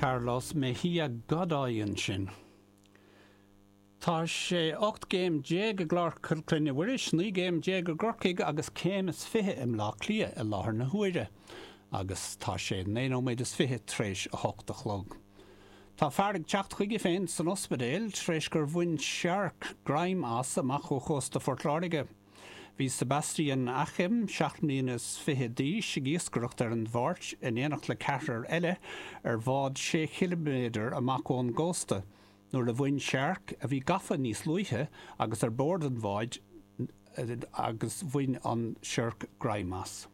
Carlos Mejia Godoy ansin. Tá sé 18 gcéim i gClár Clainne Mhuiris, 19 gcéim i gCorcaigh agus céim is 20 i mBleá Cliath i láthair na huaire agus tá sé 9 nóiméad is 20 tar éis a hocht a chlog. Tá fear ag teacht chuige féin san ospidéal tar éis gur bhain searc greim as amach ó chósta Phort Láirge. Bhí Sebastian Achim, 27 mbliana d'aois, ag iascaireacht ar an Mháirt in éineacht le ceathrar eile ar bhád sé chiliméadar amach ón gcósta nuair a bhain searc, a bhí gafa níos luaithe agus ar bord an bháid, agus bhain an siorc greim as.